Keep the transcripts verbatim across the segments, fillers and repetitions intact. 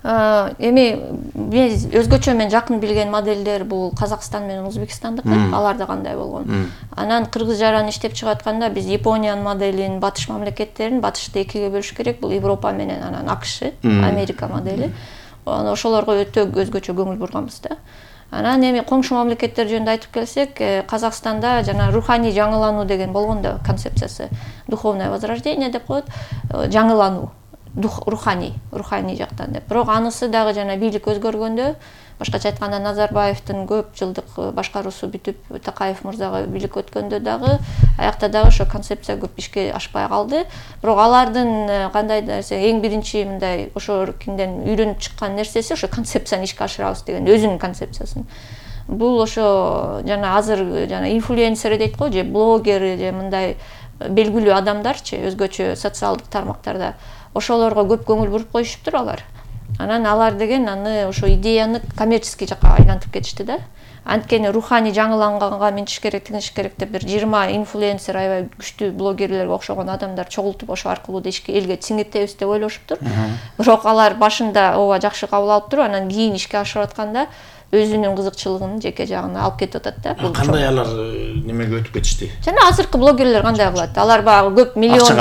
Эми өзгөчө мен жакын билген модельдер бул Казакстан менен Өзбекстандыкы, аларда кандай болгон. Анан кыргыз жараны иштеп чыгып атканда биз Япониянын моделин, батыш мамлекеттерин батышты экиге бөлүш керек. Бул Европа менен анан АКШ, Америка модели. Ошолорго өтө өзгөчө көңүл бурганбыз да. Анан эми коңшу мамлекеттер жөнүндө айтып келсек, Казакстанда жана руханий жаңылануу деген болгон да концепциясы. Духовное возрождение деп коет, жаңылануу. Руханий, руханий жактан деп. Бирок анысы дагы жана бийлик өзгөргөндө, башкача айтканда Назарбаевдин көп жылдык башкаруусу бүтүп, Такаев мырзага бийлик өткөндө дагы аякта дагы ошо концепция көп ишке ашпай калды. Бирок алардын кандай десе эң биринчи мындай ошо кинден үйрөнүп чыккан нерсеси ошо концепцияны ишке ашырабыз деген өзүнүн концепциясын. Бул ошо жана азыр жана инфлюенсер дейт го, же блогер, же мындай белгилүү адамдарчы өзгөчө социалдык тармактарда ошолорго көп көңүл буруп коюшуптур алар. Анан алар деген аны ошо идеяны коммерческий жакка айлантып кетишти да. Анткени руханий жаңыланганга минтиш керек, тигиниш керек деп бир жыйырма инфлюенсер аябай күчтүү блогерлерге окшогон адамдар чогултуп ошо аркылуу да ишке элге сиңиртебиз деп ойлошуптур. Бирок алар башында ооба жакшы кабыл алып туруп, анан кийин ишке ашырып атканда өзүнүн кызыкчылыгын жеке жагына алып кетип атат да. Кандай алар немеге өтүп кетишти? Жана азыркы блогерлер кандай кылат? Алар багы көп миллион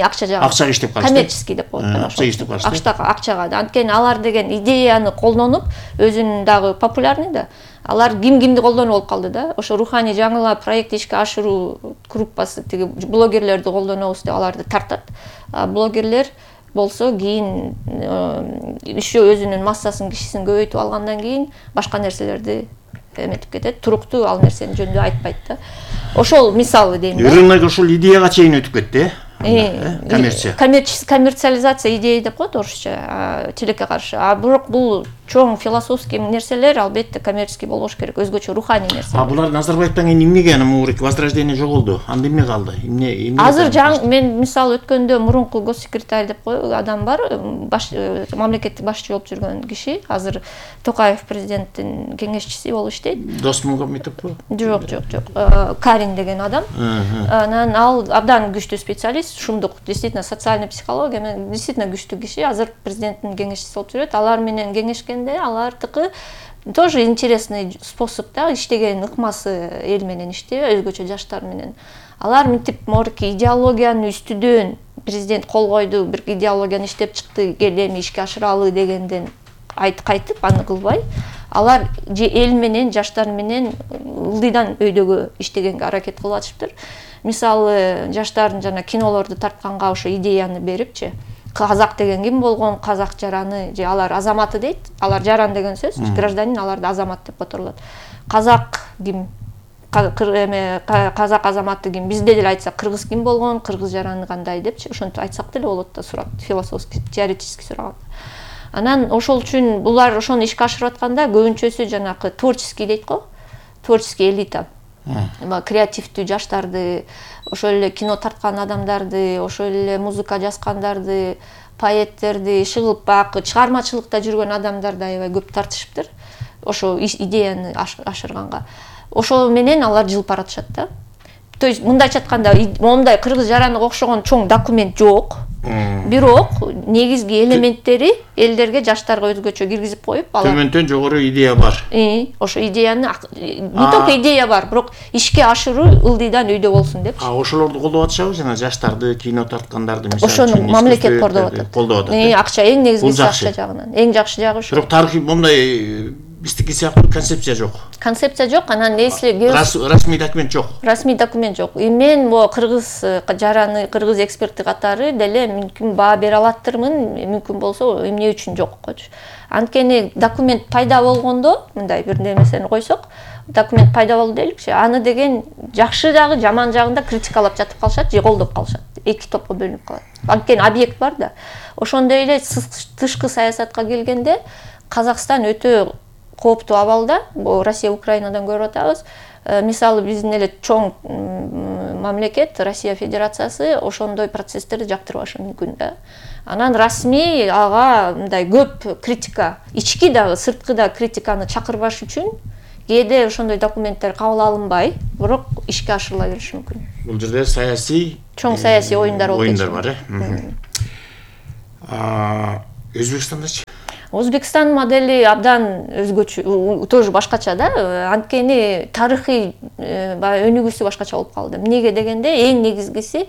акча жагат. Акчага иштеп калышты. Коммерческий деп коет. Акчага иштеп калышты. Акчага, акчага. Анткени алар деген идеяны колдонуп, өзүнүн дагы популярный да. Алар ким кимди колдонуп алып калды да. Ошо руханий жаңыла проект ишке ашыруу группасы тиги блогерлерди колдонобуз деп аларды тартат. Блогерлер болсо кийин еще өзүнүн массасын, кишисин көбөйтүп алгандан кийин башка нерселерди эметип кетет. Туруктуу ал нерсени жөнүндө айтпайт да. Ошол мисалы дейм да. Рынок ошол идеяга чейин өтүп кетти, э? Коммерция. Коммерциализация идея деп коет орусча, тилекке каршы. А бирок бул чоң философский нерселер албетте коммерческий болбош керек, өзгөчө руханий нерсе. А булар Назарбаевден кийин эмнеге ана мурик возрождение жоголду? Анда эмне калды? Эмне эмне? Азыр жаңы мен мисал өткөндө мурунку госсекретарь деп кой адам бар, баш мамлекеттик башчы болуп жүргөн киши, азыр Токаев президенттин кеңешчиси болуп иштейт. Досмугамедовпу? Жок, жок, жок. Карин деген адам. Анан ал абдан күчтүү специалист, шумдук, действительно социальный психология менен действительно күчтүү киши, азыр президенттин кеңешчиси болуп жүрөт. Алар менен кеңешкен алардыкы тоже интересный способ да, иштеген ыкмасы эл менен иштөө, өзгөчө жаштар менен. Алар мынтип морки идеологияны үстүдөн президент кол койду, бир идеологияны иштеп чыкты, кел эми ишке ашыралы дегенден айт кайтып аны кылбай, алар же эл менен, жаштар менен ылдыйдан өйдөгө иштегенге аракет кылып атышыптыр. Мисалы, жаштардын жана кинолорду тартканга ошо идеяны берипчи, казак деген ким болгон, казак жараны, же алар азаматы дейт. Алар жаран деген сөз, гражданин, аларды азамат деп которулат. Казак ким, казак азаматы ким, бизде деле айтсак кыргыз ким болгон, кыргыз жараны кандай депчи, ошентип айтсак деле болот да, сурат, философский, теоретический сураган. Анан ошол үчүн булар ошону ишке ашырып атканда көбүнчөсү жанакы творческий дейт го, творческий элита. Креативдүү жаштарды, ошол эле кино тарткан адамдарды, ошол эле музыка жазгандарды, поэттерди, шыгылпак, чыгармачылыкта жүргөн адамдарды аябай көп тартышыптыр. Ошо идеяны ашырганга. Ошол менен алар жылып баратышат да. То есть мындайча айтканда, мондай кыргыз жаранга окшогон чоң документ жок. Бирок негизги элементтери элдерге, жаштарга өзгөчө киргизип коюп, алар төмөндөн жогору идея бар. Э, ошо идеяны не только идея бар, бирок ишке ашыруу ылдыйдан өйдө болсун депчи. А ошолорду колдоп атышабы, жана жаштарды, кино тарткандарды мисалы үчүн. Ошону мамлекет колдоп атат. Колдоп атат. Э, акча эң негизгиси акча жагынан. Эң жакшы жагы ошо. Бирок тарыхый мондай биздики сыяктуу концепция жок. Концепция жок, анан если расмий документ жок. Расмий документ жок. И мен бу кыргыз жараны, кыргыз эксперти катары деле мүмкүн баа бере алаттырмын, мүмкүн болсо эмне үчүн жок койчу. Анткени документ пайда болгондо, мындай бир нерсени койсок, документ пайда болду дейликчи, аны деген жакшы жагы, жаман жагында критикалап жатып калышат, же колдоп калышат. Эки топко бөлүнүп калат. Анткени объект бар да. Ошондой эле тышкы саясатка келгенде Казакстан өтө кооптуу абалда, Россия Украинадан көрүп атабыз. Мисалы биздин эле чоң мамлекет Россия Федерациясы ошондой процесстерди жактырбашы мүмкүн да. Анан расмий ага мындай көп критика, ички дагы, сырткы да критиканы чакырбаш үчүн кээде ошондой документтер кабыл алынбай, бирок ишке ашырыла бериши мүмкүн. Бул жерде саясий чоң саясий оюндар болуп оюндар бар, э. А Өзбекстандачы? Өзбекстан модели абдан өзгөчө, тоже башкача да. Анткени тарыхый баягы өнүгүүсү башкача болуп калды. Эмнеге дегенде эң негизгиси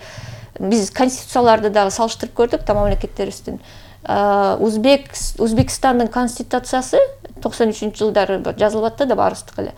биз конституцияларды дагы салыштырып көрдүк та мамлекеттерибиздин. Узбек Өзбекстандын конституциясы токсон үчүнчү жылдары жазылып атты да, баарыбыздыкы эле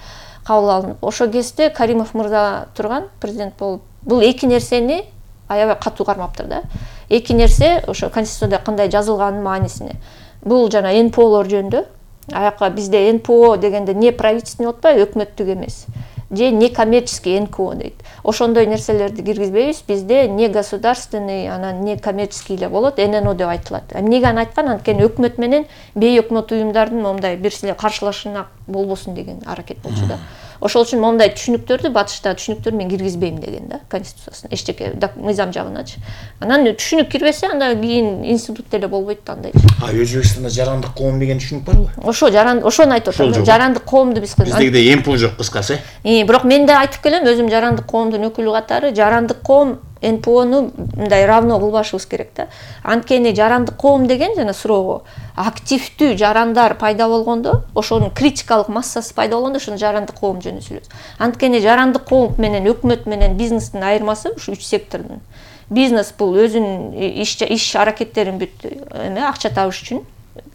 кабыл алынып. Ошо кезде Каримов мырза турган президент болуп, бул эки нерсени аябай катуу кармаптыр да. Эки нерсе ошо конституцияда кандай жазылганын маанисине. Бул жана эн пэ олор жөнүндө. Аяка бизде эн пэ о дегенде не правительственный атпайбы, өкмөттүк эмес. Же не коммерческий эн ка о дейт. Ошондой нерселерди киргизбейбиз. Бизде не государственный, анан не коммерческий эле болот, эн эн о деп айтылат. Эмнеге аны айткан? Анткени өкмөт менен бейөкмөт уюмдардын момундай бирсиле каршылашына болбосун деген аракет болчу да. Ошол үчүн момундай түшүнүктөрдү батышта түшүнүктөрдү мен киргизбейм деген да, конституциясына, эчтеке мыйзам жагыначы. Анан түшүнүк кирбесе, анда кийин институт деле болбойт да андай. А Өзбекстанда жарандык коом деген түшүнүк барбы? Ошо жаран, ошону айтып атам. Жарандык коомду биз биздегидей эн пэ о жок кыскасы. Э, бирок мен да айтып келем, өзүм жарандык коомдун өкүлү катары, жарандык коом эн пэ ону мындай равно кылбашыбыз керек да. Анткени жарандык коом деген жана суроого активдүү жарандар пайда болгондо, ошонун критикалык массасы пайда болгондо ошону жарандык коом жөнүндө сүйлөйбүз. Анткени жарандык коом менен өкмөт менен бизнестин айырмасы ушу үч сектордун. Бизнес бул өзүнүн иш иш аракеттерин бүт эме акча табыш үчүн,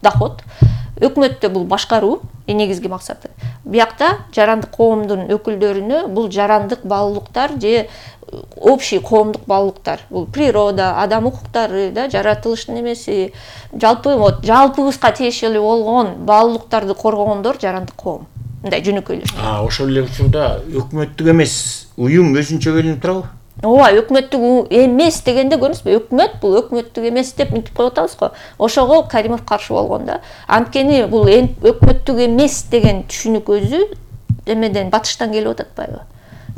доход. Өкмөттө бул башкаруу негизги максаты. Биякта жарандык коомдун өкүлдөрүнө бул жарандык баалуулуктар же общий коомдук баалуулуктар, бул природа, адам укуктары да, жаратылыштын эмеси, жалпы вот жалпыбызга тиешелүү болгон баалуулуктарды коргогондор жарандык коом. Мындай жөнөкөйлөп. А, ошол эле учурда өкмөттүк эмес уюм өзүнчө бөлүнүп турабы? Ооба, өкмөттүк эмес дегенде көрүңүзбү, өкмөт бул өкмөттүк эмес деп мынтип коюп атабыз го. Ошого Каримов каршы болгон да. Анткени бул өкмөттүк эмес деген түшүнүк өзү эмеден батыштан келип атпайбы?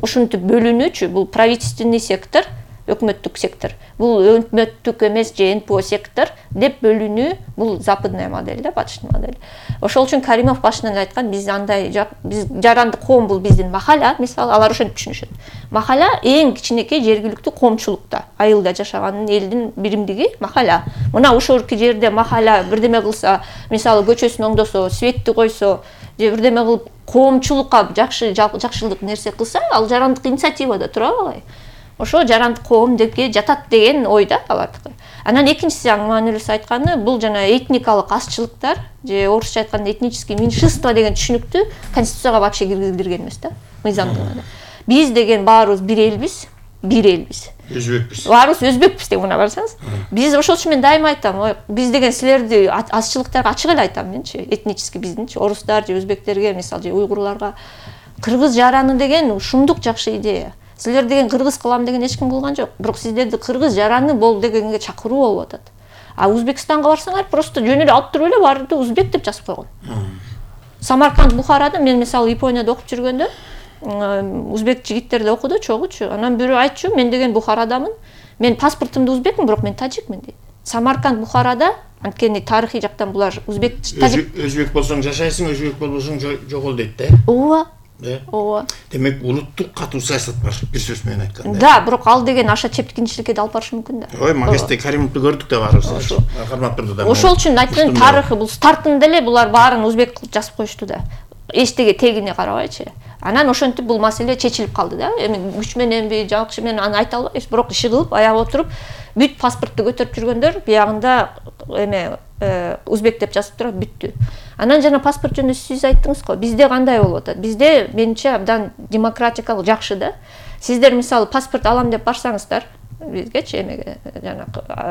Ушинтип бөлүнүүчү, бул правительственный сектор, өкмөттүк сектор, бул өкмөттүк эмес же эн пэ о сектор деп бөлүнүү, бул западная модель да, батыштын модели. Ошол үчүн Каримов башынан эле айткан, биз андай биз жарандык коом бул биздин махалла, мисалы алар ошентип түшүнүшөт. Махалла эң кичинекей жергиликтүү коомчулукта, айылда жашаган элдин биримдиги махалла. Мына ошол жерде махалла бирдеме кылса, мисалы көчөсүн оңдосо, светти койсо, же бирдеме кылып коомчулукка жакшы жакшылык нерсе кылса, ал жарандык инициативада турабы алай. Ошо жарандык коом депке жатат деген ойда алардыкы. Анан экинчиси маанилүүсү айтканы, бул жана этникалык азчылыктар, же орусча айтканда этнические меньшинства деген түшүнүктү конституцияга вообще киргизилген эмес да, мыйзамдыгында. Биз деген баарыбыз бир элбиз, бир элбиз. Өзбекпиз. Баарыбыз өзбекпиз деп мына барсаңыз. Биз ошол үчүн мен дайыма айтам, биз деген силерди азчылыктарга ачык эле айтам менчи, этнический биздинчи, орустар же өзбектерге, мисалы же уйгурларга кыргыз жараны деген ушундук жакшы идея. Силер деген кыргыз кылам деген эч ким кылган жок. Бирок сиздерди кыргыз жараны бол дегенге чакыруу болуп атат. А Өзбекстанга барсаңар, просто жөн эле алып туруп эле баарды узбек деп жазып койгон. Самарканд, Бухарада мен мисалы Японияда окуп жүргөндө, узбек жигиттер да окуду, чогучу. Анан бирөө айтчу, мен деген Бухарадамын. Мен паспортумда узбекмин, бирок мен тажикмин дейт. Самарканд, Бухарада, анткени тарыхый жактан булар узбек, тажик. Өзбек болсоң жашайсың, өзбек болбосоң жогол дейт да. Ооба. Э? Ооба. Демек улуттук катуу саясат бар, бир сөз менен айтканда. Да, бирок ал деген аша чептикинчиликке да алып барышы мүмкүн да. Ой, магисте Каримовду көрдүк да баарыбыз. Кармап турду да. Ошол үчүн айттым, тарыхы бул стартында эле булар баарын узбек кылып жазып коюшту да. Эчтеге тегине карабайчы. Анан ошентип бул маселе чечилип калды да. Эми күч мененби, жакшы менен аны айта албайбыз, бирок иши кылып аяга отуруп бүт паспортту көтөрүп жүргөндөр биягында эме узбек деп жазып турат, бүттү. Анан жана паспорт жөнүндө сиз айттыңыз го, бизде кандай болуп атат? Бизде менимче абдан демократикалык жакшы да. Сиздер мисалы паспорт алам деп барсаңыздар, бизгечи эмеге жана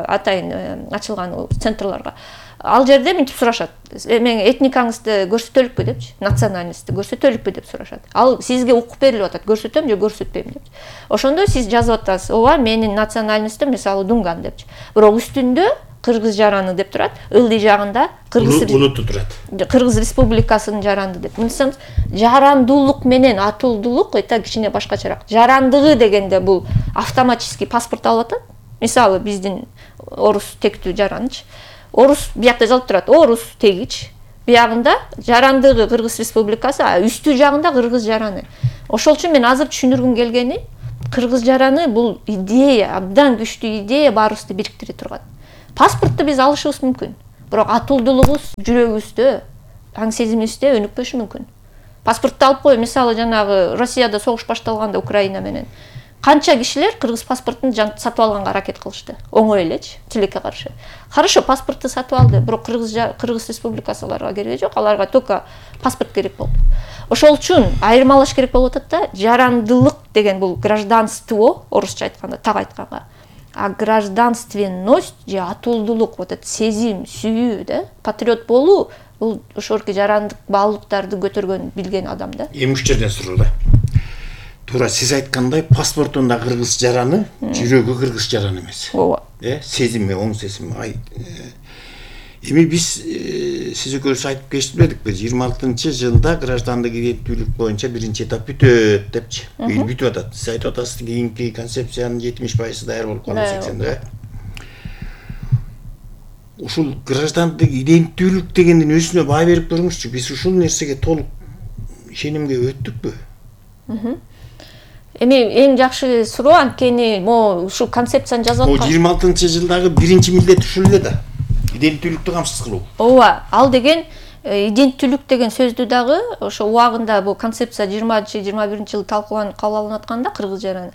атайын ачылган центрларга, ал жерде мынтип сурашат. Эме этникаңызды көрсөтөлүкпү депчи, национальностьты көрсөтөлүкпү деп сурашат. Ал сизге укук берилип атат, көрсөтөм же көрсөтпөйм деп. Ошондо сиз жазып атасыз, ооба, менин национальностьтум мисалы Дунган депчи. Бирок үстүндө кыргыз жараны деп турат, ылдый жагында кыргыз улутту турат. Кыргыз республикасынын жаранды деп. Мынсаңыз, жарандуулук менен атуулдуулук эта кичине башкачараак. Жарандыгы дегенде бул автоматически паспорт алып атат. Мисалы биздин орус тектүү жаранчы. Орус биякта жазылып турат, орус тегич. Биягында жарандыгы Кыргыз республикасы, а үстү жагында кыргыз жараны. Ошол үчүн мен азыр түшүндүргүм келгени, кыргыз жараны бул идея, абдан күчтүү идея баарыбызды бириктире турган. Паспортты биз алышыбыз мүмкүн. Бирок атуулдулугубуз жүрөгүбүздө, аң сезимибизде өнүкпөшү мүмкүн. Паспортду алып кой, мисалы жанагы Россияда согуш башталганда Украина менен канча кишилер кыргыз паспортун сатып алганга аракет кылышты. Оңой элечи, тилекке каршы. Хорошо, паспортду сатып алды, бирок Кыргыз Кыргыз Республикасы аларга кереги жок, аларга только паспорт керек болду. Ошол үчүн айырмалаш керек болуп атат да, жарандылык деген бул гражданство, орусча айтканда, так айтканга. А гражданственность же атуулдулук, вот этот сезим, сүйүү да, патриот болуу, бул ошорки жарандык баалуулуктарды көтөргөн, билген адам да. Эми ушул жерден суроо да. Туура сиз айткандай, паспортунда кыргыз жараны, жүрөгү кыргыз жараны эмес. Ооба. Э, сезими, оң сезими. Ай, эми биз сиз экөөбүз айтып кечтибедикпи? жыйырма алтынчы жылда граждандык иденттүүлүк боюнча биринчи этап бүтөт депчи. Бул бүтүп атат. Сиз айтып атасыз, кийинки концепциянын жетимиш пайызы даяр болуп калды, сексен да. Ушул граждандык иденттүүлүк дегендин өзүнө баа берип көрүңүзчү. Биз ушул нерсеге толук ишенимге өттүкпү? Эми эң жакшы суроо, анткени могу ушул концепцияны жазып аткан. жыйырма алтынчы жылдагы биринчи милдет ушул эле да. Иденттүүлүктү камсыз кылуу. Ооба, ал деген иденттүүлүк деген сөздү дагы ошо убагында бул концепция жыйырманчы жыйырма биринчи жылы талкууланып кабыл алынып атканда кыргыз жараны.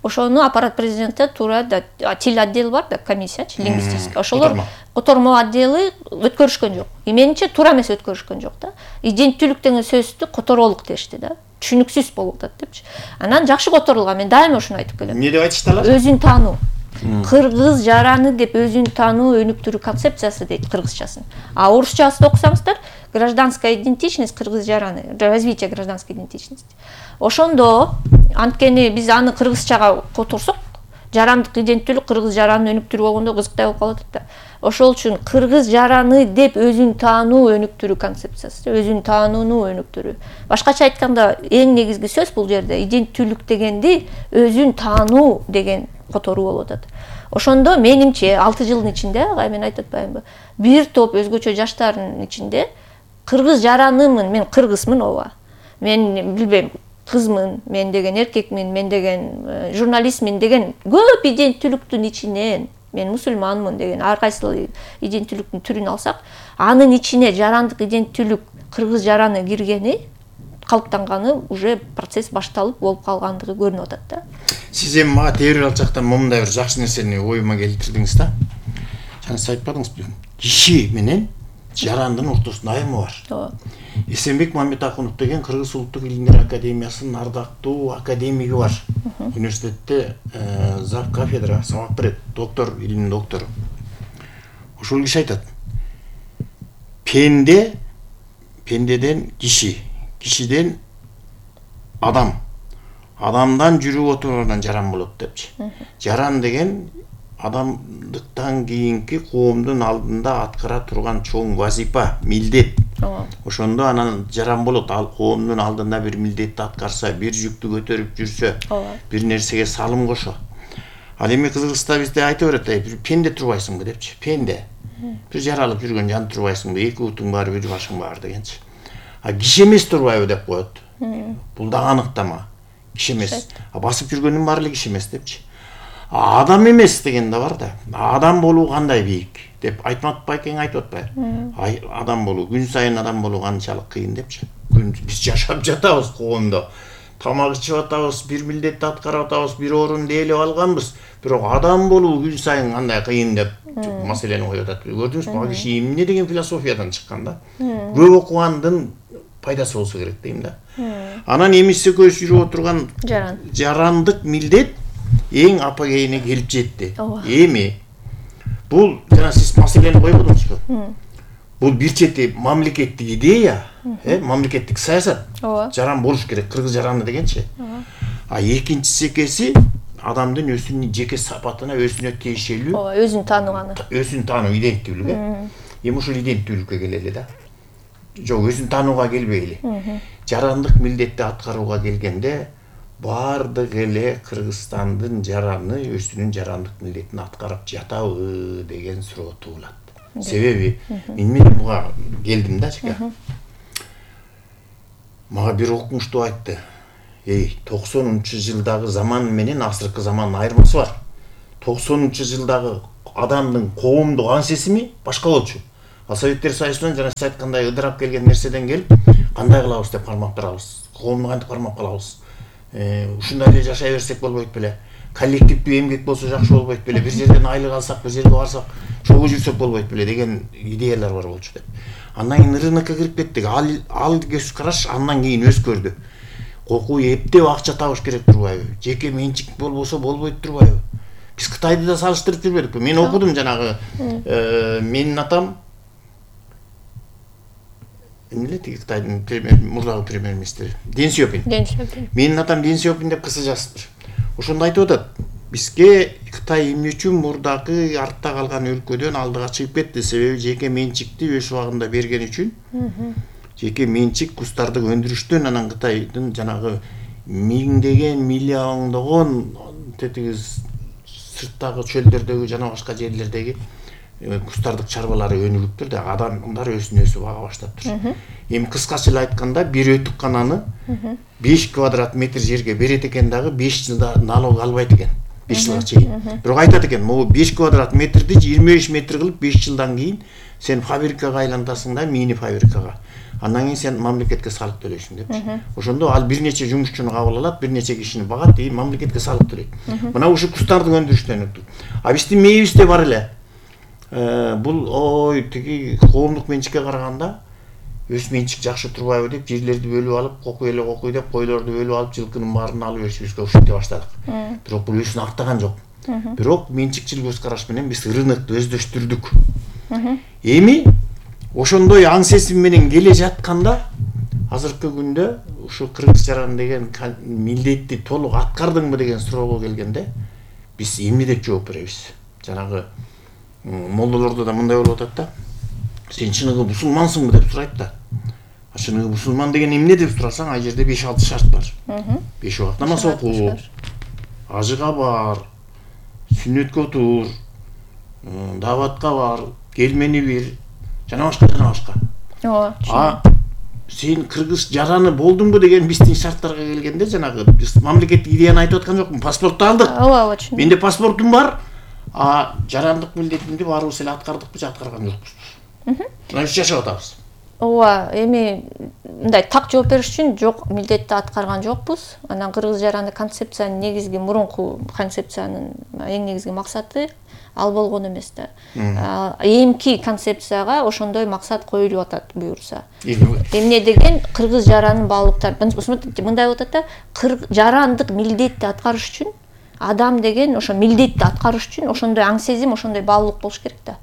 Ошону аппарат президентте туура да тил отдел бар да, комиссиячы, лингвистический. Ошолор котормо отделы өткөрүшкөн жок. Менимче туура эмес өткөрүшкөн жок да. Иденттүүлүк деген сөздү которолук дешти да. Түшүнүксүз болуп атат депчи. Анан жакшы которулган, мен дайыма ушуну айтып келем. Эмне деп айтышты алар? Өзүн таануу. Кыргыз жараны деп өзүн таануу өнүктүрүү концепциясы дейт кыргызчасын. А орусчасын окусаңыздар, гражданская идентичность кыргыз жараны, развитие гражданской идентичности. Ошондо анткени биз аны кыргызчага которсок, жарандык иденттүүлүк кыргыз жаранын өнүктүрүү болгондо кызыктай болуп калат да. Ошол үчүн кыргыз жараны деп өзүн таануу өнүктүрүү концепциясы, өзүн таанууну өнүктүрүү. Башкача айтканда, эң негизги сөз бул жерде иденттүүлүк дегенди өзүн таануу деген которуу болуп атат. Ошондо менимче алты жылдын ичинде, агай мен айтып атпаймынбы, бир топ өзгөчө жаштардын ичинде кыргыз жаранымын, мен кыргызмын, ооба. Мен билбейм, кызмын, мен деген эркекмин, мен деген журналистмин деген көп иденттүүлүктүн ичинен, мен мусулманмын деген ар кайсы иденттүүлүктүн түрүн алсак, анын ичине жарандык иденттүүлүк кыргыз жараны киргени, калыптанганы, уже процесс башталып болуп калгандыгы көрүнүп атат да. Сиз эми мага тебир алчактан момундай бир жакшы нерсени оюма келтирдиңиз да. Жана сиз айтпадыңызбы? Киши менен жарандын ортосунда айырма бар. Ооба. Эсенбек Мамедакунов деген Кыргыз Улуттук илимдер академиясынын ардактуу академиги бар. Университетте зав кафедра сабак берет, доктор, илимдин доктору. Ошол киши айтат: пенде, пендеден киши, кишиден адам, адамдан жүрүп отургандан жаран болот депчи. Жаран деген адамдыктан кийинки коомдун алдында аткара турган чоң вазипа, милдет. Ошондо анан жаран болот. Ал коомдун алдында бир милдетти аткарса, бир жүктү көтөрүп жүрсө, бир нерсеге салым кошо. Ал эми Кыргызста бизде айтып берет, бир пенде турбайсыңбы депчи. Пенде. Бир жаралып жүргөн жан турбайсыңбы, эки утуң бар, бир башың бар дегенчи. А киши эмес турбайбы деп коет. Бул да аныктама. Киши эмес. А басып жүргөндүн баары эле киши эмес депчи. Адам эмес деген да бар да. Адам болуу кандай бийик деп айтмат байкең айтып атпайбы? Ай, адам болуу, күн сайын адам болуу канчалык кыйын депчи. Биз жашап жатабыз коомдо. Тамак ичип атабыз, бир милдетти аткарып атабыз, бир орунду ээлеп алганбыз. Бирок адам болуу күн сайын кандай кыйын деп маселени коюп атат. Көрдүңүзбү? Бул киши эмне деген философиядан чыккан да? Көп окугандын пайдасы болсо керек дейм да. Анан эмиси көз жүрүп отурган жарандык милдет эң апогейине келип жетти. Эми бул жана сиз маселени койбодуңузбу? Бул бир чети мамлекеттик идея, э, мамлекеттик саясат. Жаран болуш керек, кыргыз жараны дегенчи. А экинчи экеси адамдын өзүнүн жеке сапатына, өзүнө тиешелүү, ооба, өзүн таануганы. Өзүн таануу иденттүүлүгү. Эми ушул иденттүүлүккө келели да. Жок, өзүн таанууга келбейли. Жарандык милдетти аткарууга келгенде бардык эле Кыргызстандын жараны өзүнүн жарандык милдетин аткарып жатабы деген суроо туулат. Себеби мен мен буга келдим да чека. Мага бир окумуштуу айтты. Эй, токсонунчу жылдагы заман менен азыркы замандын айырмасы бар. токсонунчу жылдагы адамдын коомдук аң сезими башка болчу. Ал Советтер Союзунан жана сиз айткандай ыдырап келген нерседен келип кандай кылабыз деп кармап турабыз. Коомду кантип кармап калабыз? Ушундай эле жашай берсек болбойт беле? Коллективдүү эмгек болсо жакшы болбойт беле? Бир жерден айлык алсак, бир жерге барсак, чогуу жүрсөк болбойт беле деген идеялар бар болчу деп. Андан кийин рынокко кирип кеттик. Ал ал көз караш андан кийин өзгөрдү. Кокуу эптеп акча табыш керек турбайбы? Жеке менчик болбосо болбойт турбайбы? Биз Кытайды да салыштырып жүрбөдүкпү? Мен окудум жанагы менин атам эмне тиги Кытайдын мурдагы премьер-министри Дэн Сяопин. Менин атам Дэн Сяопин деп кыса жазыптыр. Ошондо айтып атат. Бизге Кытай эмне үчүн мурдагы артта калган өлкөдөн алдыга чыгып кетти? Себеби жеке менчикти өз убагында берген үчүн. Жеке менчик кустарды өндүрүштөн анан Кытайдын жанагы миңдеген, миллиондогон тетиги сырттагы чөлдөрдөгү жана башка жерлердеги кустардык чарбалары өнүгүптүр да, адамдар өзүн өзү бага баштаптыр. Эми кыскача эле айтканда, бир өтүк кананы беш квадрат метр жерге берет экен дагы беш жылда налог албайт экен. беш жылга чейин. Бирок айтат экен, могу беш квадрат метрди жыйырма беш метр кылып беш жылдан кийин сен фабрикага айлантасың да, мини фабрикага. Андан кийин сен мамлекетке салык төлөйсүң депчи. Ошондо ал бир нече жумушчуну кабыл алат, бир нече кишини багат, и мамлекетке салык төлөйт. Мына ушу кустарды өндүрүштөн өттүк. А биздин мээбизде бар эле. Бул ой тиги коомдук менчикке караганда өз менчик жакшы турбайбы деп жерлерди бөлүп алып, кокуй эле кокуй деп койлорду бөлүп алып, жылкынын баарын алып беришибизге ушинте баштадык. Бирок бул өзүн актаган жок. Бирок менчикчил көз караш менен биз рынокду өздөштүрдүк. Эми ошондой аң сезим менен келе жатканда азыркы күндө ушу кыргыз жаран деген милдетти толук аткардыңбы деген суроого келгенде биз эмне деп жооп беребиз? Жанагы молдолордо да мындай болуп атат да. Сен чыныгы мусулмансыңбы деп сурайт да. А чыныгы мусулман деген эмне деп сурасаң, ай жерде беш алты шарт бар. беш убакыт намаз окуу, ажыга бар, сүннөткө отур, дааватка бар, келмени бир, жана башка жана башка. Ооба. А сен кыргыз жараны болдуңбу деген биздин шарттарга келгенде жанагы биз мамлекеттик идеяны айтып аткан жокмун, паспортту алдык. Ооба, ооба, түшүндүм. Менде паспортум бар, а жарандык милдетимди баарыбыз эле аткардыкпы, же аткарган жокпуз. Мына үч жашап атабыз. Ооба, эми мындай так жооп бериш үчүн жок, милдетти аткарган жокпуз. Анан кыргыз жаранды концепциянын негизги мурунку концепциянын эң негизги максаты ал болгон эмес да. Эмки концепцияга ошондой максат коюлуп атат буюрса. Эмне деген кыргыз жаранын баалуулуктары мындай болуп атат да, жарандык милдетти аткарыш үчүн адам деген ошо милдетти аткарыш үчүн ошондой аң сезим, ошондой баалуулук болуш керек да.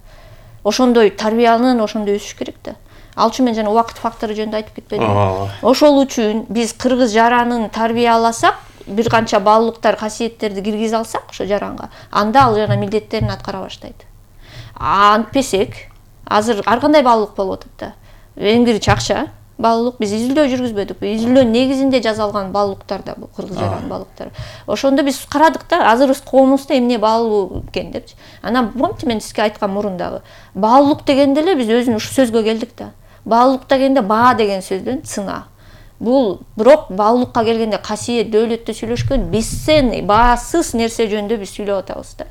Ошондой тарбиянын, ошондой өсүш керек да. Ал үчүн мен жана убакыт фактору жөнүндө айтып кетпедимби? Ошол үчүн биз кыргыз жаранын тарбияласак, бир канча баалуулуктар, касиеттерди киргизе алсак ошо жаранга, анда ал жана милдеттерин аткара баштайт. Антпесек, азыр ар кандай баалуулук болуп атат да. Эң биринчи акча баалуулук, биз изилдөө жүргүзбөдүкпү? Изилдөө негизинде жазалган баалуулуктар да бул кыргыз жаранын баалуулуктары. Ошондо биз карадык да, азыр биз коомубузда эмне баалуу экен депчи. Анан помните мен сизге айткан мурун дагы, баалуулук дегенде эле биз өзүн ушу сөзгө келдик да. Баалуулук дегенде баа деген сөздөн цена. Бул бирок баалуулукка келгенде касиет, дөөлөттү сүйлөшкөн, бесценный, баасыз нерсе жөнүндө биз сүйлөп атабыз да.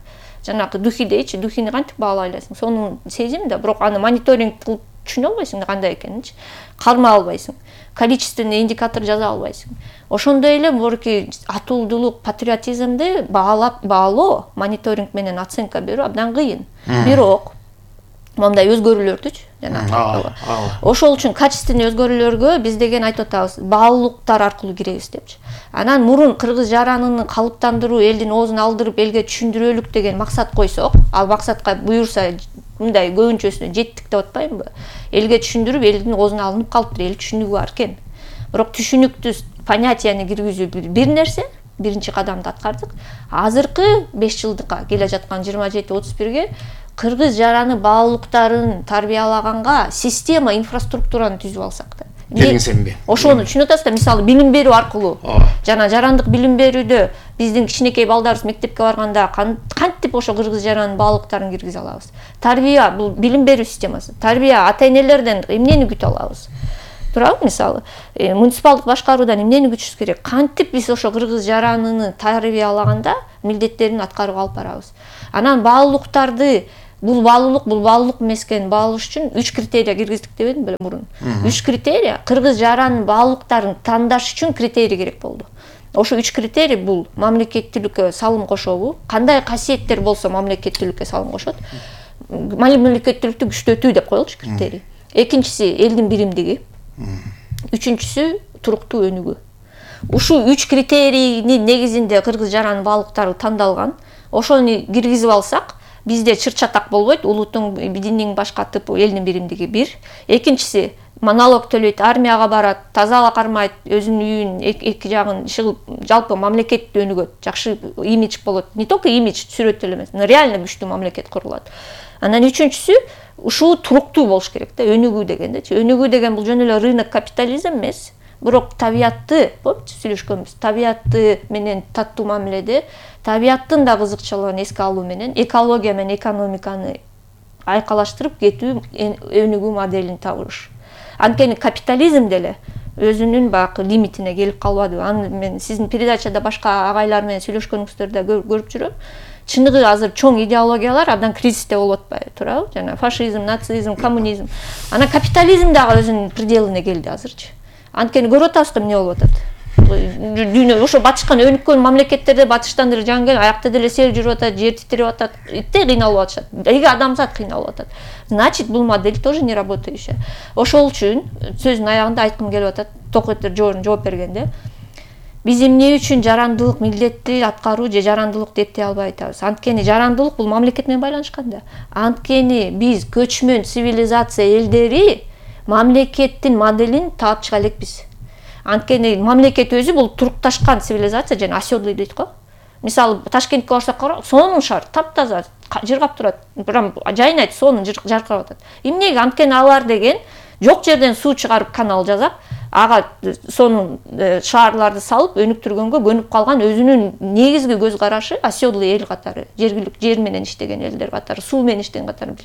Жанагы духи дейчи, духини кантип баалай аласың? Сонун сезим да, бирок аны мониторинг кылып түшүнө албайсың кандай экенинчи. Карма албайсың. Количественный индикатор жаза албайсың. Ошондой эле борки атуулдулук, патриотизмди баалап, баалоо, мониторинг менен оценка берүү абдан кыйын. Бирок мондай өзгөрүүлөрдүчү жана ошол үчүн качественный өзгөрүүлөргө биз деген айтып атабыз, баалуулуктар аркылуу киребиз депчи. Анан мурун кыргыз жаранын калыптандыруу, элдин оозун алдырып элге түшүндүрөлүк деген максат койсок, ал максатка буюрса мындай көбүнчөсүнө жеттик деп атпаймынбы? Элге түшүндүрүп, элдин оозуна алынып калыптыр, эл түшүнүгү бар экен. Бирок түшүнүктүү понятияны киргизүү бир нерсе, биринчи кадамды аткардык. Азыркы беш жылдыкка келе жаткан жыйырма жети отуз бирге кыргыз жараны баалуулуктарын тарбиялаганга система, инфраструктураны түзүп алсак да. Келиңсемби? Ошону түшүнүп атасыздар, мисалы билим берүү аркылуу. Жана жарандык билим берүүдө биздин кичинекей балдарыбыз мектепке барганда кантип ошо кыргыз жаранын баалуулуктарын киргизе алабыз? Тарбия, бул билим берүү системасы. Тарбия, ата-энелерден эмнени күтө алабыз? Туурабы, мисалы, муниципалдык башкаруудан эмнени күтүшүбүз керек? Кантип биз ошо кыргыз жаранын тарбиялаганда милдеттерин аткарып алып барабыз? Анан баалуулуктарды бул баалуулук бул баалуулук эмес экенин баалаш үчүн үч критерия киргиздик дебедим беле мурун. Үч критерия кыргыз жаранын баалуулуктарын тандаш үчүн критерий керек болду. Ошо үч критерий бул мамлекеттүүлүккө салым кошобу, кандай касиеттер болсо мамлекеттүүлүккө салым кошот. Мамлекеттүүлүктү күчтөтүү деп коелучу критерий. Экинчиси элдин биримдиги. Үчүнчүсү туруктуу өнүгүү. Ушул үч критерийнин негизинде кыргыз жаранын баалуулуктары тандалган. Ошону киргизип алсак, бизде чыр-чатак болбойт, улуттун динин баш катып, элдин биримдиги бир. Экинчиси налог төлөйт, армияга барат, тазалык кармайт, өзүнүн үйүн, эки жагын чыгып, жалпы мамлекет өнүгөт, жакшы имидж болот. Не только имидж, сүрөт эле эмес, реально күчтүү мамлекет курулат. Анан үчүнчүсү ушул туруктуу болуш керек да, өнүгүү дегендечи. Өнүгүү деген бул жөн эле рынок капитализм эмес, бирок табиятты, помните, сүйлөшкөнбүз, табиятты менен таттуу мамиледе, табияттын да кызыкчылыгын эске алуу менен экология менен экономиканы айкалаштырып кетүү өнүгүү моделин табыш. Анткени капитализм деле өзүнүн баягы лимитине келип калбады. Аны мен сиздин передачада башка агайлар менен сүйлөшкөнүңүздөрдө көрүп жүрөм. Чыныгы азыр чоң идеологиялар абдан кризисте болуп атпайбы, туурабы? Жана фашизм, нацизм, коммунизм. Анан капитализм дагы өзүнүн пределине келди азырчы. Анткени көрүп атабызбы эмне болуп атат? Дүйнө ошо батышкан өнүккөн мамлекеттерде батыштан деле жанган, аякта деле сел жүрүп атат, жер титирип атат, итте кыйналып атышат. Эги адамзат кыйналып атат. Значит, бул модель тоже не работающая. Ошол үчүн сөздүн аягында айткым келип атат, токойттор жооп бергенде, биз эмне үчүн жарандылык милдетти аткаруу же жарандылык деп дей албай атабыз. Анткени жарандылык бул мамлекет менен байланышкан да. Анткени биз көчмөн цивилизация элдери мамлекеттин моделин таап чыга элекпиз. Анткени мамлекет өзү бул турукташкан цивилизация, жана оседлый дейт го. Мисалы Ташкентке барсак, сонун шаар, таптаза, жыргап турат. Прям жайнайт, сонун жаркырап атат. Эмнеге? Анткени алар деген жок жерден суу чыгарып канал жасап, ага сонун шаарларды салып, өнүктүргөнгө көнүп калган өзүнүн негизги көз карашы оседлый эл катары, жергиликтүү жер менен иштеген элдер катары, суу менен иштеген катары.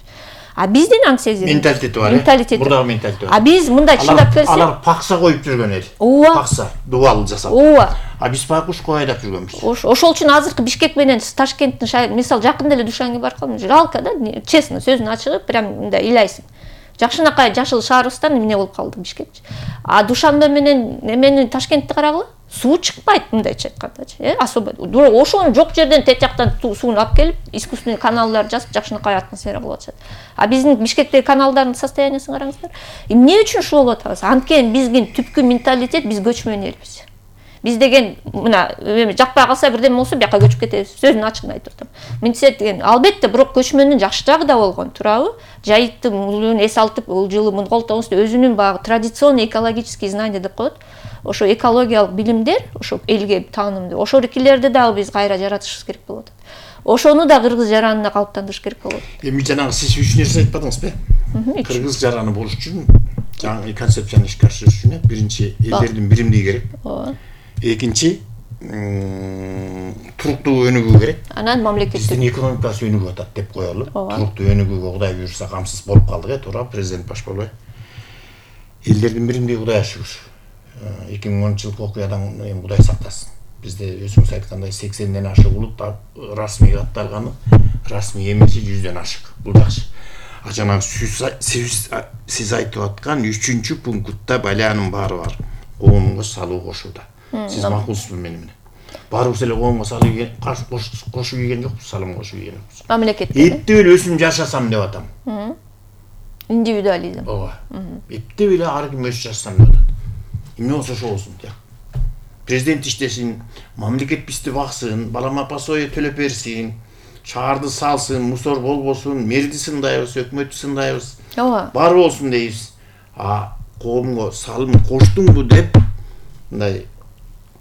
А биздин аңсезим менталитети бар. Менталитет. Мурдагы менталитет. А биз мындай чындап келсек, алар пакса коюп жүргөн эл. Пакса, дубал жасап. Ооба. А биз пакуш коюп жүргөнбүз. Ошол үчүн азыркы Бишкек менен Ташкенттин, мисалы, жакында эле Душанге баргам, жалко да, честно, сөздүн ачыгы, прям мындай ыйлайсың. Жакшынакай жашыл шаарыбыздан эмне болуп калды Бишкекчи. А Душанбе менен эмени Ташкентти карагыла, суу чыкпайт, мындайча айткандачы, э, особо. Ошону жок жерден тет жактан сууну алып келип, искусственный каналдар жасап, жакшынакай атмосфера кылып атышат. А биздин Бишкектеги каналдардын состояниясын караңыздар. Эмне үчүн ушул болуп атабыз? Анткени биздин түпкү менталитет, биз көчмөн элбиз. Биз деген мына жакпай калса бирдеме болсо бияка көчүп кетебиз. Сөздүн ачыгын айтып атам. Менталитет деген албетте бирок көчмөндүн жакшы жагы да болгон, туурабы? Жайыттын мулун эс алып, ул жылы муну колтообуз деп өзүнүн баягы традиционный экологический знания деп коет. Ошо экологиялык билимдер, ошо элге таанымдуу. Ошорикилерди дагы биз кайра жаратышыбыз керек болуп атат. Ошону да кыргыз жаранына калыптандырыш керек болот. Эми жанагы сиз үч нерсе айтпадыңызбы? Кыргыз жараны болуш үчүн, жаңы концепцияны ишке ашырыш үчүн биринчи элдердин биримдиги керек. Ооба. Экинчи, туруктуу өнүгүү керек. Анан мамлекеттик биздин экономикасы өнүгүп атат деп коелу. Туруктуу өнүгүүгө Кудай буйрса камсыз болуп калдык, э, туура, президент баш болбой. Элдердин биримдиги Кудайга шүгүр. эки миң онунчу жылкы окуядан эми Кудай сактасын. Бизде өзүңүз айткандай сексенден ашык улут расмий катталганы, расмий эмеси жүздөн ашык. Бул жакшы. А жанагы сиз айтып аткан үчүнчү пунктта балянын баары бар. Коомго салуу кошууда. Сиз макулсузбу мени менен? Баарыбыз эле коомго салуу ийген, кошуу ийген жокпуз, салым кошуу ийген жокпуз. Мамлекетке. Эптеп эле өзүм жашасам деп атам. Индивидуализм. Ооба. Эптеп эле ар ким өзү жашасам деп атат. Эмне болсо ошо болсун деп. Президент иштесин, мамлекет бизди баксын, балама пособие төлөп берсин, шаарды салсын, мусор болбосун, мэрди сындайбыз, өкмөттү сындайбыз. Ооба. Бар болсун дейбиз. А коомго салым коштуңбу деп мындай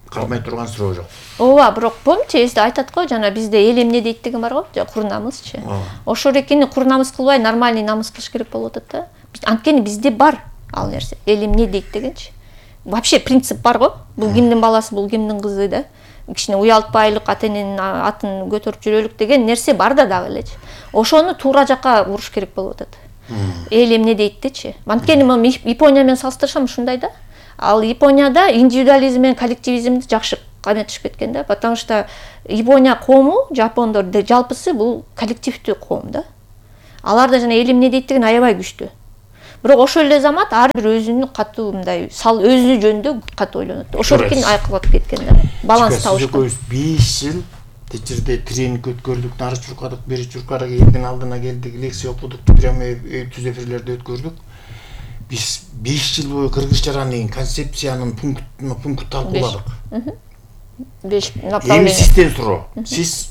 кармай турган суроо жок. Ооба, бирок помните, эсте айтат го, жана бизде эл эмне дейт деген бар го, кур намысчы. Ошол экени кур намыс кылбай, нормальный намыс кылыш керек болуп атат да. Анткени бизде бар ал нерсе. Эл эмне дейт дегенчи. Вообще принцип бар го. Бул кимдин баласы, бул кимдин кызы да. Кичине уялтпайлык, ата-эненин атын көтөрүп жүрөлүк деген нерсе бар да дагы элечи. Ошону туура жакка буруш керек болуп атат. Эл эмне дейттичи. Анткени мен Япония менен салыштырсам ушундай да. Ал Японияда индивидуализм менен коллективизмди жакшы каметишип кеткен да, потому что Япония коому, жапондор жалпысы бул коллективдүү коом да. Алар да жана элим эмне дейт деген аябай күчтүү. Бирок ошол эле замат ар бир өзүнүн катуу мындай сал өзү жөнүндө катуу ойлонот. Ошондуктан айкалып кеткен да. Баланс табышкан. беш жыл тил жерде тренинг өткөрдүк, нары чуркадык, бери чуркадык, элдин алдына келдик, лекция окудук, прямо түз эфирлерди өткөрдүк. Биз беш жыл бою кыргыз жаран деген концепциянын пунктуна пункт талкууладык. беш направление. Эми сизден суроо. Сиз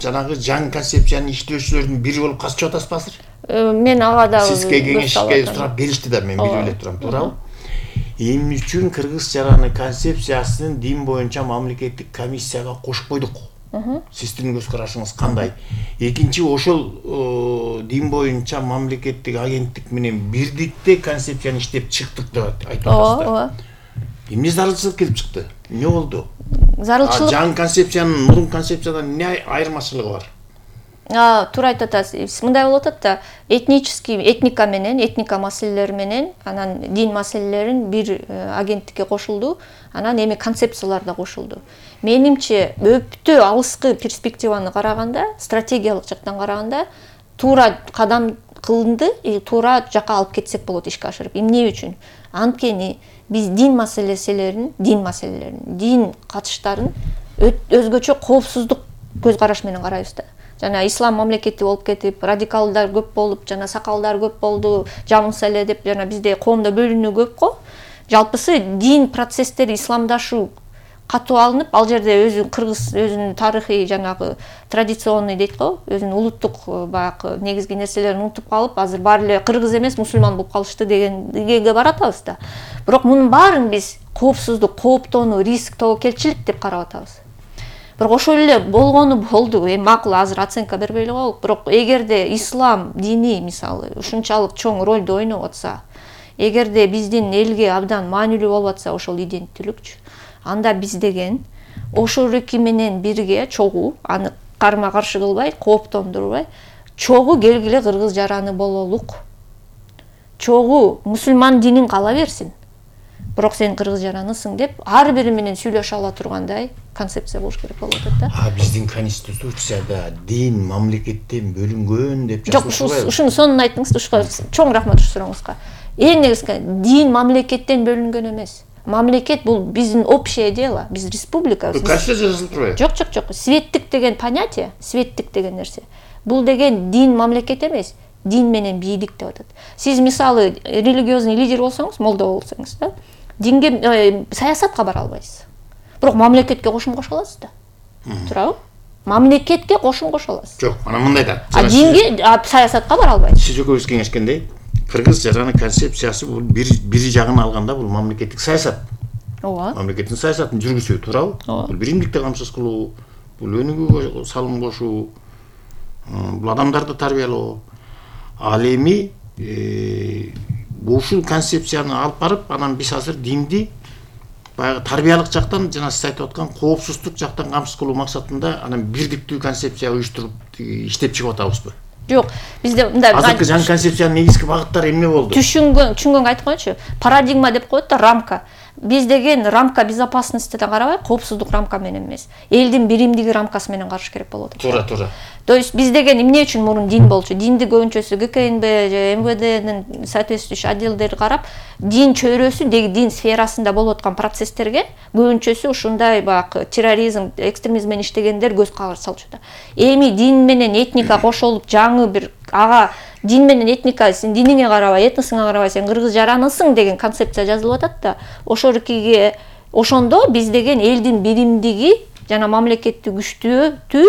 жанагы жаңы концепцияны иштөөчүлөрдүн бири болуп катышып атасызбы? Мен ага да сизге кеңешке сурап беришти да, мен билип эле турам, туурабы? Эмне үчүн кыргыз жараны концепциясын дин боюнча мамлекеттик комиссияга кошуп койдук? Сиздин көз карашыңыз кандай? Экинчи, ошол дин боюнча мамлекеттик агенттик менен бирдикте концепцияны иштеп чыктык деп айтып атасыздар. Ооба. Эмне зарылчылык келип чыкты? Эмне болду? Зарылчылык. Жаңы концепциянын мурун концепциядан эмне айырмачылыгы бар? А, туура айтып атасыз. Мындай болуп атат да, этнический этника менен, этника маселелери менен, анан дин маселелерин бир агенттикке кошулду, анан эми концепциялар да кошулду. Менимче, өптө алыскы перспективаны караганда, стратегиялык жактан караганда, туура кадам кылынды, туура жакка алып кетсек болот ишке ашырып. Эмне үчүн? Анткени биз дин маселелерин, дин маселелерин, дин катыштарын өзгөчө коопсуздук көз караш менен карайбыз да. Жана ислам мамлекети болуп кетип, радикалдар көп болуп, жана сакалдар көп болду, жамылса эле деп жана бизде коомдо бөлүнүү көп го. Жалпысы дин процесстери исламдашуу катуу алынып, ал жерде өзү кыргыз өзүнүн тарыхый жанагы традиционный дейт го, өзүнүн улуттук баягы негизги нерселерин унутуп калып, азыр баары эле кыргыз эмес, мусулман болуп калышты дегенге баратабыз да. Бирок мунун баарын биз коопсуздук, кооптонуу, риск, тобокелчилик деп карап атабыз. Бирок ошол эле болгону болду. Эми макул азыр оценка бербей эле коелук. Бирок эгерде ислам дини мисалы ушунчалык чоң ролду ойноп атса, эгерде биздин элге абдан маанилүү болуп атса ошол иденттүүлүкчү, анда биз деген ошол эки менен бирге чогуу, аны карма каршы кылбай, кооптондурбай, чогуу келгиле кыргыз жараны бололук. Чогуу мусулман динин кала берсин. Бирок сен кыргыз жаранысың деп ар бири менен сүйлөшө ала тургандай концепция болуш керек болуп атат да. А биздин конституцияда дин мамлекеттен бөлүнгөн деп жазылып атпайбы? Жок, ушуну сонун айттыңыз, ушуга чоң рахмат ушул сурооңузга. Эң негизги дин мамлекеттен бөлүнгөн эмес. Мамлекет бул биздин общее дело, биз республика. Конституцияда жазылып турбайбы? Жок, жок, жок. Светтик деген понятие, светтик деген нерсе. Бул деген дин мамлекет эмес, дин менен бийлик деп атат. Сиз мисалы религиозный лидер болсоңуз, молдо болсоңуз да, динге саясатка бара албайсыз. Бирок мамлекетке кошум кошо аласыз да. Туурабы? Мамлекетке кошум кошо аласыз. Жок, ана мындай да. А динге саясатка бара албайсыз. Сиз экөөбүз кеңешкендей, кыргыз жараны концепциясы бул бир бир жагын алганда бул мамлекеттик саясат. Ооба. Мамлекеттин саясатын жүргүзүү, туурабы? Бул биримдикти камсыз кылуу, бул өнүгүүгө салым кошуу, бул адамдарды тарбиялоо. Ал эми ушул концепцияны алып барып, анан биз азыр динди баягы тарбиялык жактан жана сиз айтып аткан коопсуздук жактан камсыз кылуу максатында анан бирдиктүү концепция уюштуруп иштеп чыгып атабызбы? Жок, бизде мындай азыркы жаңы концепциянын негизги багыттары эмне болду? Түшүнгөн, түшүнгөнгө айтып коеюнчу. Парадигма деп коет да, рамка. Биз деген рамка безопасностьтен карабай, коопсуздук рамка менен эмес, элдин биримдиги рамкасы менен караш керек болуп атат. Туура, туура. То есть биз деген эмне үчүн мурун дин болчу? Динди көбүнчөсү ГКНБ же эм вэ дэнин соответствующий отделдери карап, дин чөйрөсү, дин сферасында болуп аткан процесстерге көбүнчөсү ушундай баягы терроризм, экстремизм менен иштегендер көз караш салчу да. Эми дин менен этника кошулуп, жаңы бир ага дин менен этника, сен диниңе карабай, этносуңа карабай, сен кыргыз жаранысың деген концепция жазылып атат да. Ошол экиге ошондо биз деген элдин биримдиги жана мамлекетти күчтүү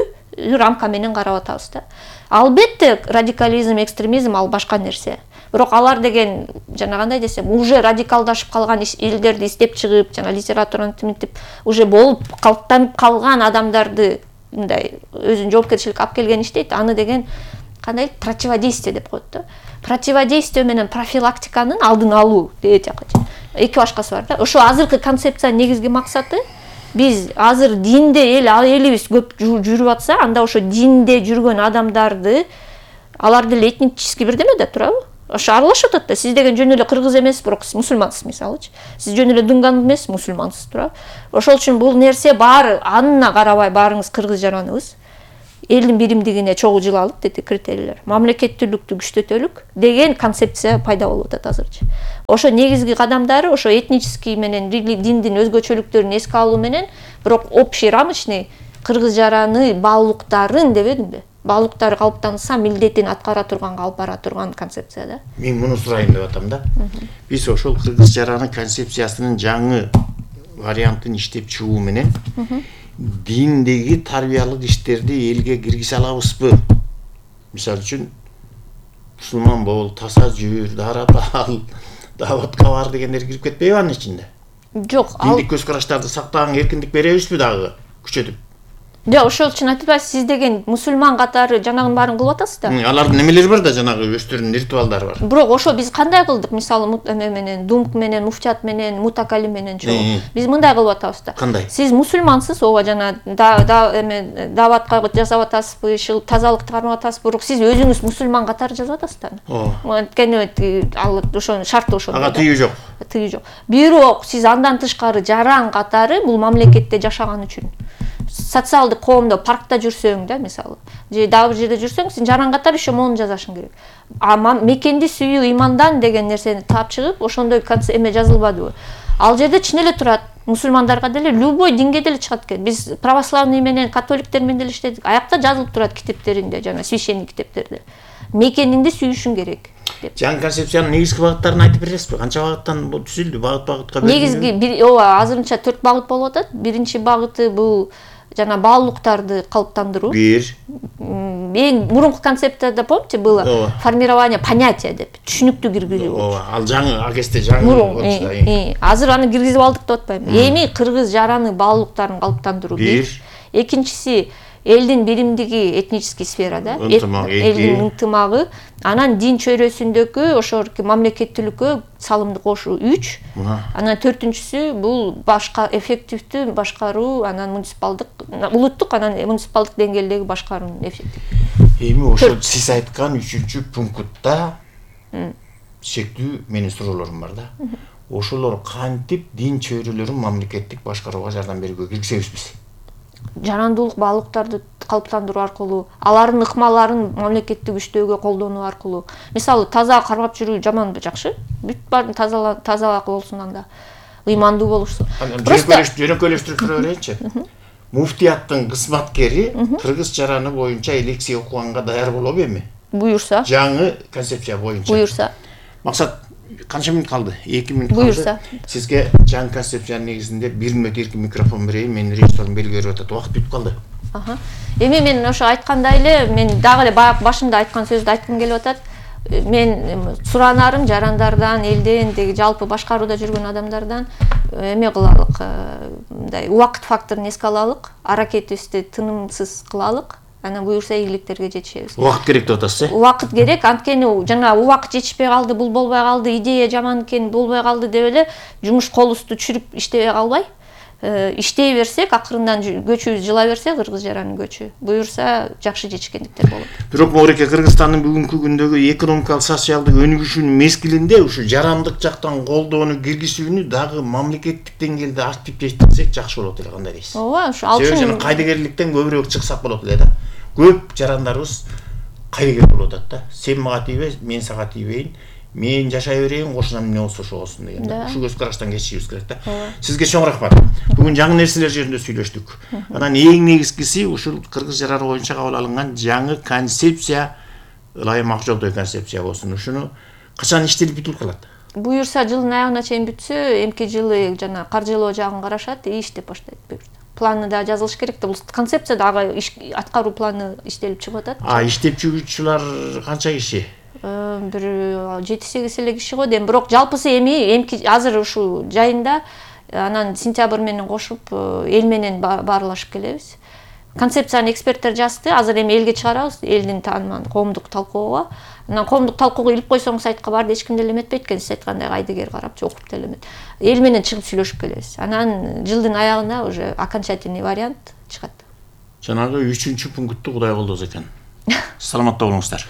рамка менен карап атабыз да. Албетте радикализм, экстремизм ал башка нерсе. Бирок алар деген жана кандай десем, уже радикалдашып калган элдерди издеп чыгып, жана литератураны тимитип, уже болуп калыптанып калган адамдарды мындай өзүнүн жоопкерчиликке алып келген иштейт. Аны деген кандай противодействие деп коет да. Противодействие менен профилактиканын алдын алуу дейт жакка. Эки башкасы бар да. Ошо азыркы концепциянын негизги максаты биз азыр динде эл элибиз көп жүрүп атса, анда ошо динде жүргөн адамдарды аларды эле этнический бирдеме да, туурабы? Ошо аралашып атат да. Сиз деген жөн эле кыргыз эмес, бирок мусулмансыз мисалычы. Сиз жөн эле дунган эмес, мусулмансыз, туурабы? Ошол үчүн бул нерсе баары анына карабай баарыңыз кыргыз жараныбыз. элдин биримдигине чогуу жылалык деди критерийлер, мамлекеттүүлүктү күчтөтөлүк деген концепция пайда болуп атат азырчы. Ошо негизги кадамдары ошо этнический менен диндин өзгөчөлүктөрүн эске алуу менен, бирок общий рамочный кыргыз жараны баалуулуктарын дебедимби? Баалуулуктары калыптанса милдетин аткара турган, алып бара турган концепция да. Мен муну сурайын деп атам да. Биз ошол кыргыз жараны концепциясынын жаңы вариантын иштеп чыгуу менен диндеги тарбиялык иштерди элге киргизе алабызбы? Мисалы үчүн мусулман бол, таза жүр, дарат ал, даватка бар дегендер кирип кетпейби анын ичинде? Жок, ал диндик көз караштарды сактаганга эркиндик беребизби дагы күчөтүп? Жок, ошол үчүн айтып атпайсыз, сиз деген мусулман катары жанагынын баарын кылып атасыз да. Алардын немелери бар да, жанагы өздөрүнүн ритуалдары бар. Бирок ошо биз кандай кылдык? Мисалы эме менен, думк менен, муфтият менен, мутакалим менен чогуу. Биз мындай кылып атабыз да. Кандай? Сиз мусулмансыз, ооба жана да эме даватка жасап атасызбы, тазалыкты кармап атасызбы, бирок сиз өзүңүз мусулман катары жазып атасыз да. Ооба. Анткени ал ошонун шарты ошондой. Ага тыюу жок. Тыюу жок. Бирок сиз андан тышкары жаран катары бул мамлекетте жашаган үчүн социалдык коомдо паркта жүрсөң да, мисалы, же дагы бир жерде жүрсөң, сен жаран катары ишо мону жазашың керек. А мекенди сүйүү имандан деген нерсени таап чыгып, ошондой эме жазылбадыбы? Ал жерде чын эле турат. Мусулмандарга деле, любой динге деле чыгат экен. Биз православный менен католиктер менен деле иштедик. Аякта жазылып турат китептеринде, жана священник китептерде. Мекениңди сүйүшүң керек. Жаңы концепциянын негизги багыттарын айтып бересизби? Канча багыттан бул түзүлдү? Багыт-багытка бөлүнүп? Негизги ооба, азырынча төрт багыт болуп атат. Биринчи багыты бул жана баалуулуктарды калыптандыруу. Бир. Эң мурунку концепцияда помните было формирование понятия деп, түшүнүктүү киргизүү. Ооба, ал жаңы агесте жаңы болчу. Азыр аны киргизип алдык деп атпайм. Эми кыргыз жараны баалуулуктарын калыптандыруу. Бир. Экинчиси элдин биримдиги этнический сферада, элдин ынтымагы, анан дин чөйрөсүндөгү ошол мамлекеттүүлүккө салымды кошуу үч. Анан төртүнчүсү бул башка эффективдүү башкаруу, анан муниципалдык, улуттук, анан муниципалдык деңгээлдеги башкаруунун эффективдүү. Эми ошол сиз айткан үчүнчү пунктта шектүү менин суроолорум бар да. Ошолор кантип дин чөйрөлөрүн мамлекеттик башкарууга жардам берүүгө киргизебиз? Жарандуулук баалуулуктарды калыптандыруу аркылуу, алардын ыкмаларын мамлекетти күчтөөгө колдонуу аркылуу. Мисалы, таза кармап жүрүү жаманбы, жакшы? Бүт баарын таза таза болсун анда. Ыймандуу болушсун. Жөнөкөйлөштүрүп тура берейинчи. Муфтияттын кызматкери кыргыз жараны боюнча лекция окуганга даяр болобу эми? Буюрса. Жаңы концепция боюнча. Буюрса. Максат, канча минут калды? эки минут калды. Буюрса. Сизге жаңы концепциянын негизинде бир мүнөт эркин микрофон берейин. Менин режиссерим белги берип атат. Убакыт бүтүп калды. Аха. Эми мен ошо айткандай эле, мен дагы эле баягы башында айткан сөздү айткым келип атат. Мен суранарым жарандардан, элден, деги жалпы башкарууда жүргөн адамдардан эме кылалык, мындай убакыт факторун эске алалык, аракетибизди тынымсыз кылалык. Анан буюрса ийгиликтерге жетишебиз. Убакыт керек деп атасыз, э? Убакыт керек, анткени жана убакыт жетишпей калды, бул болбой калды, идея жаман экен, болбой калды деп эле жумуш колубузду чүрүп иштебей калбай, иштей берсек, акырындан көчүбүз жыла берсе, кыргыз жаранын көчү, буюрса жакшы жетишкендиктер болот. Бирок Мореке, Кыргызстандын бүгүнкү күндөгү экономикалык, социалдык өнүгүшүнүн мезгилинде ушу жарандык жактан колдоону киргизүүнү дагы мамлекеттик деңгээлде активдештирсек жакшы болот эле, кандай дейсиз? Ооба, ушу ал үчүн кайдыгерликтен көбүрөөк чыксак болот эле да. Көп жарандарыбыз кайдыгер болуп атат да. Сен мага тийбе, мен сага тийбейин. Мен жашай берейин, кошунам эмне болсо ошо болсун деген. Ушу көз караштан кечишибиз керек да. Сизге чоң рахмат. Бүгүн жаңы нерселер жөнүндө сүйлөштүк. Анан эң негизгиси ушул кыргыз жараны боюнча кабыл алынган жаңы концепция ылайым ак жолдой концепция болсун. Ушуну качан иштелип бүтүп калат? Буюрса жылдын аягына чейин бүтсө, эмки жылы жана каржылоо жагын карашат, и иштеп баштайт буюрса. Планы да жазылыш керек да. Бул концепция дагы аткаруу планы иштелип чыгып атат. А иштеп чыгуучулар канча киши? Бир жети сегиз эле киши го дейм. Бирок жалпысы эми эмки азыр ушул жайында анан сентябрь менен кошуп эл менен баарлашып келебиз. Концепцияны эксперттер жазды. Азыр эми элге чыгарабыз, элдин тааныман коомдук талкуога. Анан коомдук талкуога илип койсоң сайтка барды, эч ким деле эметпейт экен, сиз айткандай кайдыгер карап, окуп деле эмет. Эл менен чыгып сүйлөшүп келебиз. Анан жылдын аягына уже окончательный вариант чыгат. Жанагы үчүнчү пункту Кудай колдосо экен. Саламатта болуңуздар.